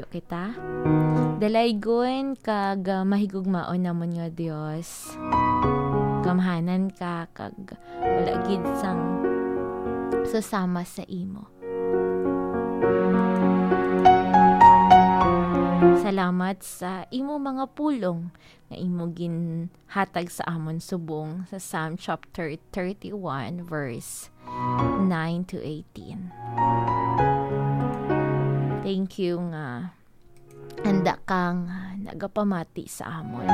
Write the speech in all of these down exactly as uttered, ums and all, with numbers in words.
kita. Dalaygon kag, ah, mahigugmaon namon nga Dios. Gamhanan ka kag wala gid sang susama sa imo. Salamat sa imo mga pulong nga imo ginhatag sa amon subong sa Psalm chapter thirty-one, verse nine to eighteen. Thank you nga handa ka nga nagapamati sa amon.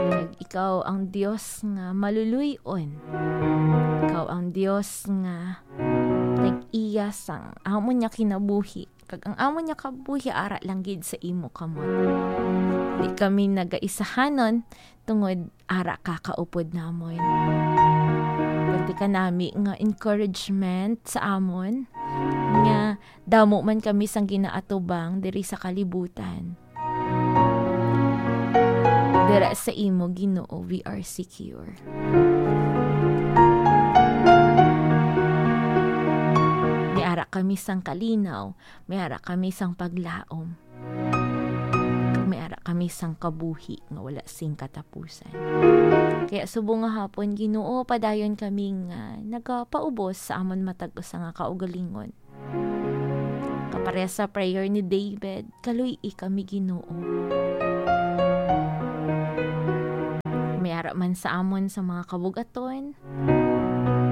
Kag ikaw ang Dios nga maluluy-on. Ikaw ang Dios nga nag-iya sang amon nga kinabuhi. Kag ang amon nga kabuhi ara lang gid sa imo kamot. Di kami nagaisahanon tungod ara ka kaupod namon. Pati ka nami nga encouragement sa amon, nga damo man kami sang ginaatubang diri sa kalibutan. Dira sa imo, Ginoo, we are secure. May ara kami sang kalinaw, may ara kami sang paglaom. Kag may ara kami sang kabuhi nga wala sing katapusan. Kaya subong nga hapon, Ginoo, padayon kami nga nagapaubos sa amon matag usa nga kaugalingon. Kapareha sa prayer ni David, kaluy-i kami, Ginoo. May ara man sa amon sa mga kabugaton,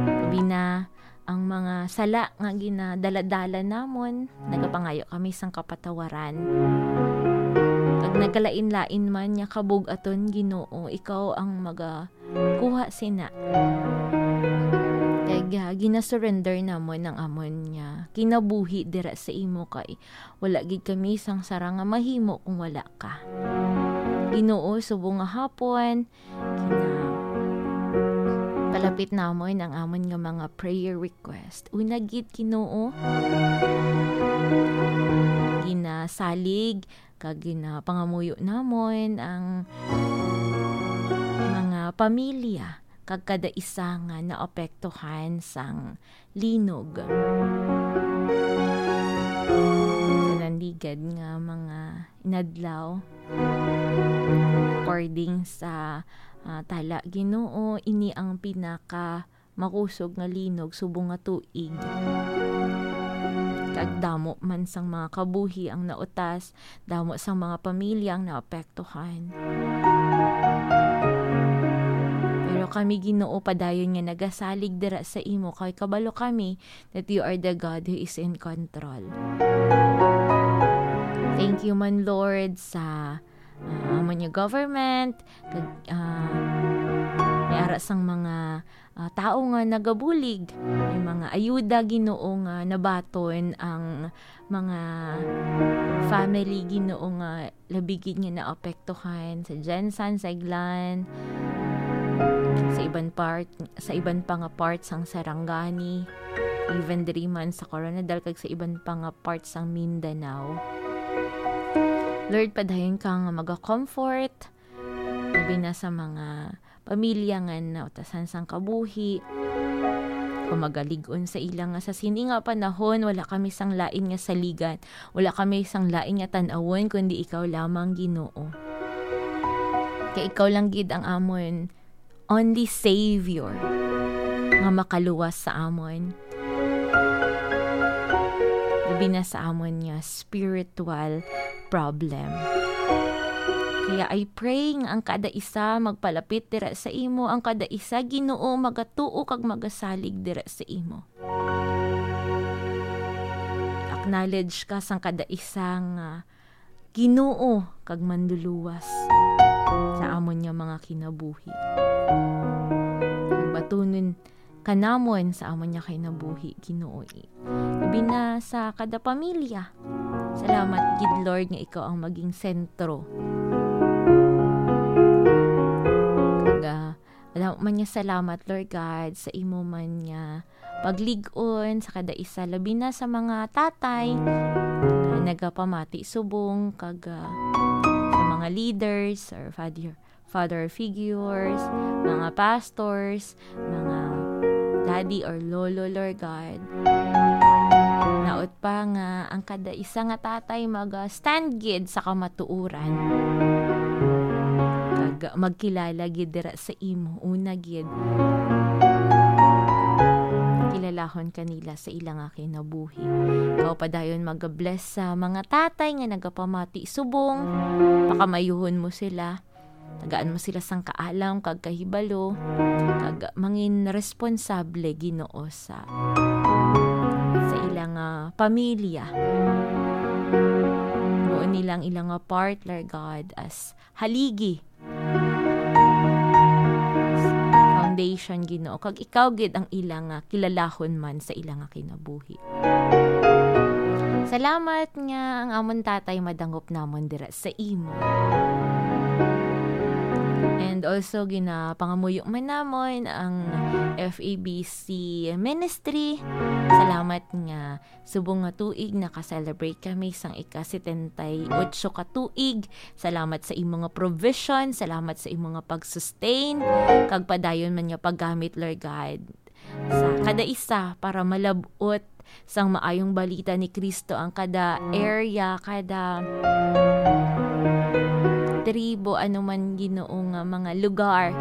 labi na ang mga sala nga ginadaladala namon, nagapangayo kami sang kapatawaran. Kag nagkalain-lain man nga kabug-aton, Ginoo, ikaw ang magakuha sina. Kag, ah, ginasurrender namon ang amon nga kinabuhi dira sa imo, kay wala gid kami sang sarang nga mahimo kung wala ka. Ginoo, subong nga hapon, Gina-, palapit namon ang amon nga mga prayer request. Una gid, Ginoo, ginasalig kag ginapangamuyo namon ang mga pamilya kag kada isa nga naapektuhan sang linog. Sa nanligad nga mga inadlaw, according sa, ah, tala, Ginoo, ini ang pinaka makusog nga linog subong nga tuig. Kag damo man sang mga kabuhi ang nautas, damo sang mga pamilya ang naapektuhan. Pero kami, Ginoo, padayon nga nagasalig dira sa imo, kay kabalo kami that you are the God who is in control. Thank you man, Lord, sa, ah, amon nga government, kag, ah, may ara sang mga, ah, tawo nga nagabulig, may mga ayuda, Ginoo, nga nabaton ang mga family, Ginoo, nga labi gid nga naapektuhan sa Gensan, sa Iglan, sa iban part, sa iban pa nga part sang Sarangani, even diri man sa Koronadal kag sa iban pa nga part sang Mindanao. Lord, padayon ka nga maga-comfort, labi na sa mga pamilya nga nautasan sang kabuhi, kung magalig-on sa ila nga sa sini nga panahon, wala kami sang lain nga saligan, wala kami sang lain nga tan-awon, kundi ikaw lamang, Ginoo. Kay ikaw lang gid ang amon only Savior nga makaluwas sa amon, labi na sa amon nga spiritual problem. Kaya I pray nga ang kada isa magpalapit dira sa imo, ang kada isa, Ginoo, magatuo kag magasalig dira sa imo. Acknowledge ka sang kada isa nga Ginoo kag Manluluwas sa amon nga mga kinabuhi. Batunon ka namon sa amon nga kinabuhi, Ginoo, eh. Labi na sa kada pamilya. Salamat gid, Lord, nga ikaw ang maging sentro. Kag, ah, wala man nga salamat, Lord God, sa imo man nga paglig-on sa kada isa, labi na sa mga tatay nga nagapamati subong kag, ah, sa mga leaders or father, father figures, mga pastors, mga daddy or lolo, Lord God. Naot pa nga ang kada isa nga tatay mag-stand gid sa kamatuoran, kag magkilala gid dira sa imo. Una gid, kilalahon kanila sa ila nga kinabuhi. Ikaw padayon mag-bless sa mga tatay nga nagapamati subong, pakamayuhon mo sila, tagaan mo sila sang kaalam kag kahibalo, kag mangin responsable, Ginoo, sa, sa ilang, ah, pamilya. Buon nila ang ilang, ah, part, Lord God, as haligi, foundation, Ginoo, kag ikaw gid ang ilang, ah, kilalahon man sa ilang, ah, kinabuhi. Salamat nga ang amon tatay madangop namon dira sa imo. And also, ginapangamuyo man namon ang F E B C Ministry. Salamat nga subong nga tuig naka-celebrate kami sang ika-setenta y ocho ka tuig. Salamat sa imo nga provision, salamat sa imo nga pag-sustain, kag padayon man nga paggamit, Lord God, sa kada isa para malab-ot sang maayong balita ni Kristo ang kada area, kada tribo, ano man, Ginoo, nga mga lugar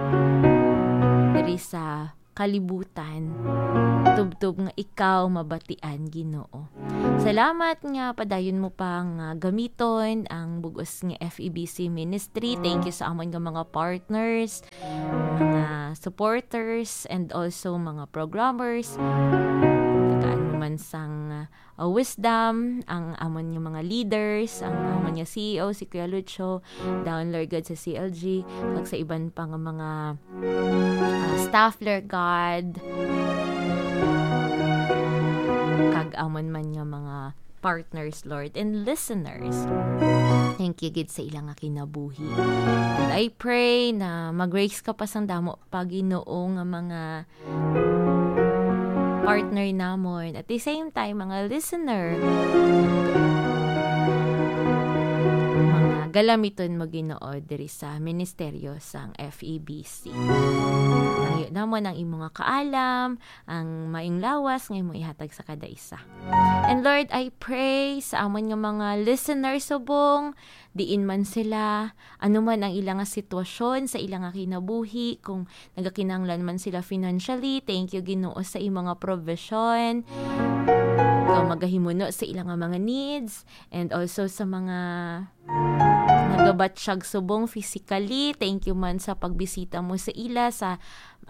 diri sa kalibutan, tubtob nga ikaw mabatian, Ginoo. Salamat nga padayon mo pa nga gamiton ang bug-os nga F E B C ministry. Thank you sa amon nga mga partners, mga supporters, and also mga programmers. Tagaan mo man sang, uh, wisdom ang amon nga mga leaders, ang amon nga C E O, si Kuya Lucho, down, Lord God, sa C L G, kag sa iban pa nga mga, uh, staff, Lord God, kag amon man nga mga partners, Lord, and listeners. Thank you gid sa ilang nga kinabuhi. And I pray na mag-raise ka pa sang damo pa, Ginoo, nga mga partner namon. At the same time, mga listener, mga galamiton mo, Ginoo, diri sa ministeryo sang F E B C. Hangyo namon ang imo nga kaalam, ang maayong lawas nga imo ihatag sa kada isa. And Lord, I pray sa amon nga mga listeners subong, diin man sila, ano man ang ila nga sitwasyon sa ila nga kinabuhi, kung nagakinahanglan man sila financially, thank you, Ginoo, sa imo nga provision. Ikaw magahimuno sa ila nga mga needs, and also sa mga nagabatsyag subong physically, thank you man sa pagbisita mo sa ila sa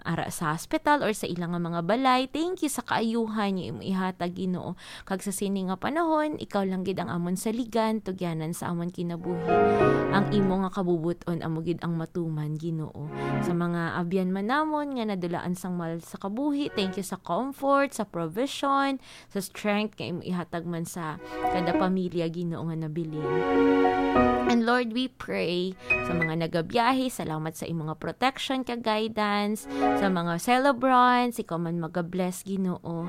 ara sa hospital or sa ila nga mga balay. Thank you sa kaayuhan nga imo ihatag, Ginoo. Kag sa sini nga panahon, ikaw lang gid ang amon saligan, tugyanan sa amon kinabuhi. Ang imo nga kabubot-on amo gid ang matuman, Ginoo. Sa mga abyan man namon nga nadulaan sang mal sa kabuhi, thank you sa comfort, sa provision, sa strength nga imo ihatag man sa kada pamilya, Ginoo, nga nabilin. And Lord, we pray sa mga nagabiyahe, salamat sa imo nga protection kag guidance, sa mga celebrants, ikaw man magabless, Ginoo.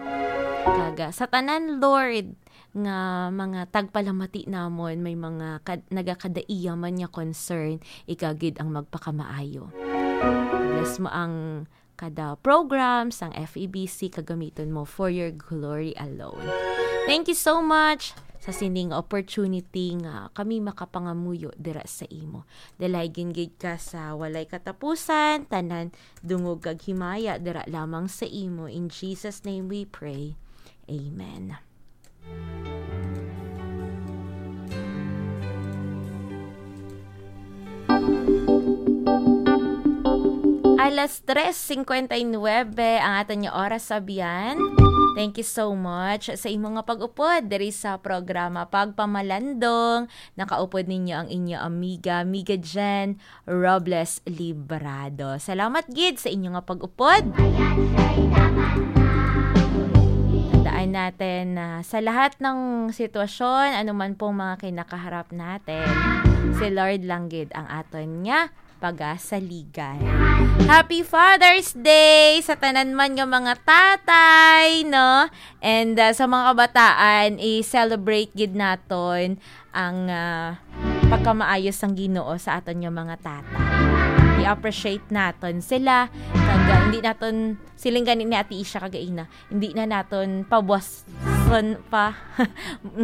Kag, ah, sa tanan, Lord, nga mga tagpalamati namon, may mga kad-, nagakadaiya man nga concern, ikaw gid ang magpakamaayo. Bless mo ang kada program sang F E B C, kagamiton mo for your glory alone. Thank you so much sa sining opportunity nga kami makapangamuyo dira sa imo. Dalaygon gid ka sa walay katapusan, tanan dungog kag himaya dira lamang sa imo. In Jesus' name we pray. Amen. Alas tres cincuenta y nueve ang aton nga oras, abyan. Thank you so much sa imo nga pag-upod diri sa programa Pagpamalandong. Nakaupod ninyo ang inyo amiga, Amiga Jen Robles Librado. Salamat gid sa inyo nga pag-upod. Tandaan natin na sa lahat ng sitwasyon, anuman pong mga kinakaharap natin, si Lord lang gid ang aton nga pagasaligan. Happy Father's Day sa tanan man nga mga tatay, no? And, uh, sa mga kabataan, i-celebrate gid naton ang, ah, pagkamaayo sang Ginoo sa aton nga mga tatay. i-appreciate naton sila. Kag, ah, hindi naton, siling gani ni Ate Isha kagaina, hindi na naton pabuwason pa.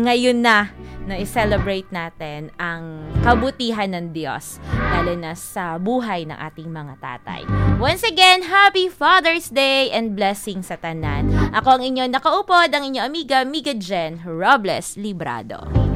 Ngayon na, na i-celebrate natin ang kabutihan ng Diyos, lalo na sa buhay ng ating mga tatay. Once again, happy Father's Day and blessings sa tanan. Ako ang inyo nakaupod, ang inyo amiga, Miga Jen Robles Librado.